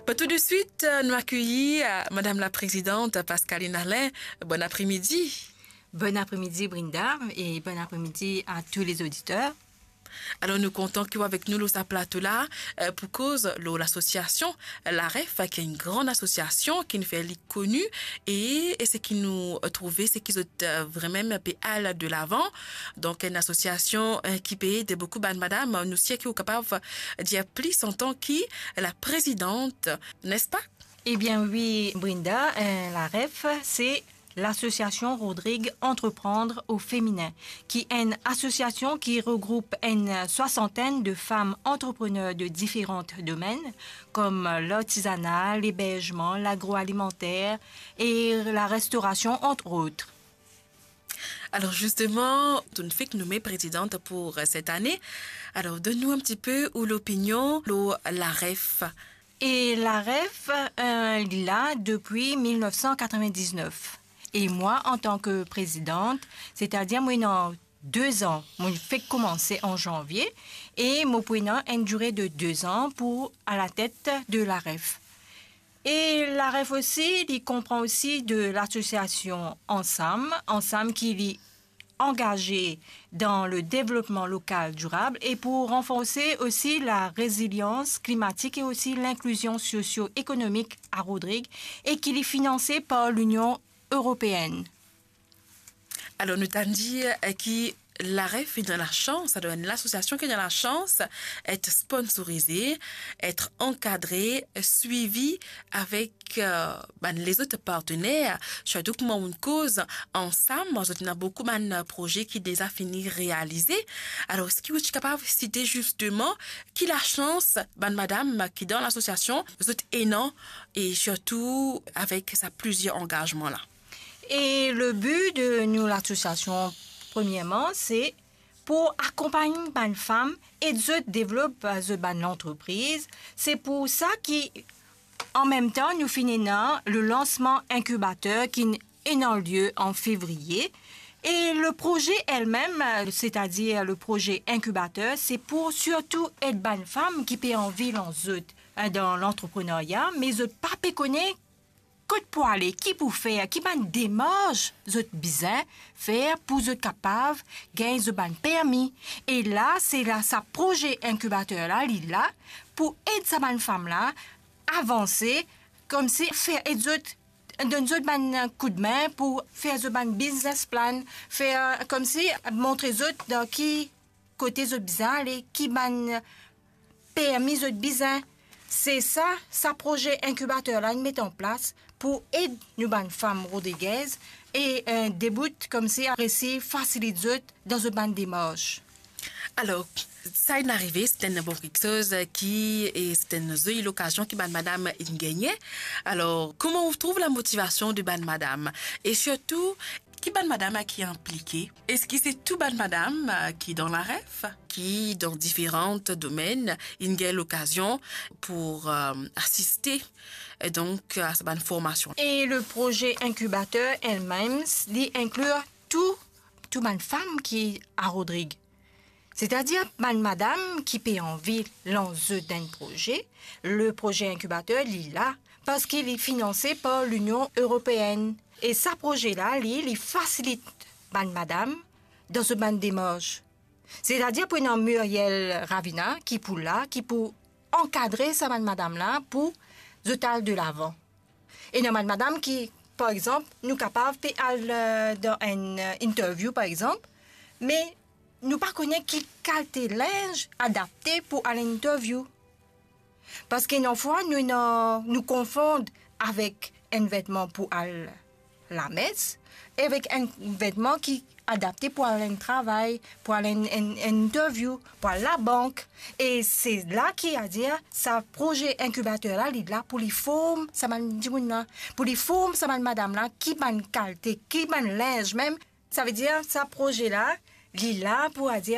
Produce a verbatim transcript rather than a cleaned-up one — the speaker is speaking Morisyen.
Be, tou de swit, nou akeyir, eh, madam laprezidant Pascaline Alain. Bon apremidi. Bon apremidi, Brinda, e bon apremidi a tou lezoditer. Alor, nou kontan ki ou avek nou lor sa plato la, eh, pou koz lor lasosiasion Laref, ki enn gran asosiasion ki nou fer li koni, e, e seki nou trouve, seki zot, eh, vremem pe al delavan. Donk, enn asosiasion, eh, ki pe ed boukou bann madam. Nou sir ki ou kapav dir plis antan ki laprezidant, nespa? Ebien wi, Brinda, eh, Laref, se Lasosiasion Rodrig Entreprendre au Féminin, ki enn asosiasion ki regroup enn swasantenn de fam antreprener de diferan domenn, kom lartizana, leberzman, lagroalimanter e larestorasion, ant ot. Alor, zisteman, to'nn fek nome prezidant pou, eh, set ane. Alor, donn nou enn tipe ou lopinion lor Laref. E Laref, eh, li la depi mil nef san katreven-diznef. E mwa, antan ki prezidant, setadir mwa ena de zan, mo fek koumanse an zanvie, e mo pou ena enn dire de de zan pou alatet de Laref. E Laref osi, li konpran osi de lasosiasion Ansam, Ansam ki li angaze dan le devlopman lokal dirab e pou ranforse osi larezilians klimatik e osi linklizion sosio-ekonomik a Rodrig e ki li finanse par Linion Eropeenn. Alor, nou tann dir, eh, ki Laref ena lasans, alor, enn lasosiasion ki ena lasans et sponsorize, et ankadre, swivi avek, eh, bann lezot partner, sirtou kouma nou koz Ansam, zot ena boukou bann proze ki deza fini realize. Alor, eski ou ti kapav site zisteman ki lasans bann madam ki dan lasosiasion zot ena, e sirtou avek sa plizier angazman la? E le bi de nou lasosiasion, premierman, se pou akonpagn bann fam, ed zot devlop, eh, zot bann lantrepriz. Se pou sa ki, an mem tan, nou finn ena le lansman inkibater ki ena lie an fevriye. E le proze elmem, eh, setadir le proze inkibater, se pou sirtou ed bann fam ki pe anvi lans zot, eh, dan lantreprenerya, me zot pa pe kone kot pou ale, ki pou fer, ki bann demars zot bizin fer pou zot kapav gagn zot bann permi. E la, se la, sa proze inkibater la, li la pou ed sa bann fam la avanse, koumsi fer ed zot, donn zot bann koudme pou fer zot bann business plan, fer, koumsi montre zot dan ki kote zot bizin ale, ki bann permi zot bizin. Se sa, sa proze inkibater la inn met an plas pou ed nou bann fam Rodriguez e, eh, debout koumsi resi fasilit zot dan zot bann demars. Alor, sa inn arive, se enn bon kiksoz ki, e se enn zoli lokazion ki bann madam inn gagne. Alor, kouma ou trouv lamotivasion de bann madam? E sirtou, ki bann madam ki inplike? Eski se tou bann madam, eh, ki dan Laref, ki dan diferan domenn, inn gagn lokazion pou, eh, asiste, eh, donk, a sa bann formasion? E le proze inkibater elmem, li inkli tou, tou bann fam ki a Rodrig. Setadir bann madam ki pe anvi lans zot enn proze, le proze inkibater, li la, parski li finanse par Linion Eropeenn. E sa proze la, li, li fasilit bann madam dan zot bann demars. Setadir pou ena Muriel Ravina ki pou la, ki pou ankadre sa bann madam la pou zot al delavan. Ena bann madam ki, par exanp, nou kapav pe al, eh, dan enn, eh, interview, par exanp, me nou pa kone ki kalite linz adapte pou al interview. Parski ena fwa nou ena, nou konfond avek enn vetman pou al lames, e avek enn vetman ki adapte pou al enn travay, pou al enn, enn, enn interview, pou al labank. E se la ki, adir, sa proze inkibater la, li la pou li form sa bann dimoun la, pou li form sa bann madam la, ki bann kalite, ki bann linz mem. Savedir, sa proze la, li la pou, adir,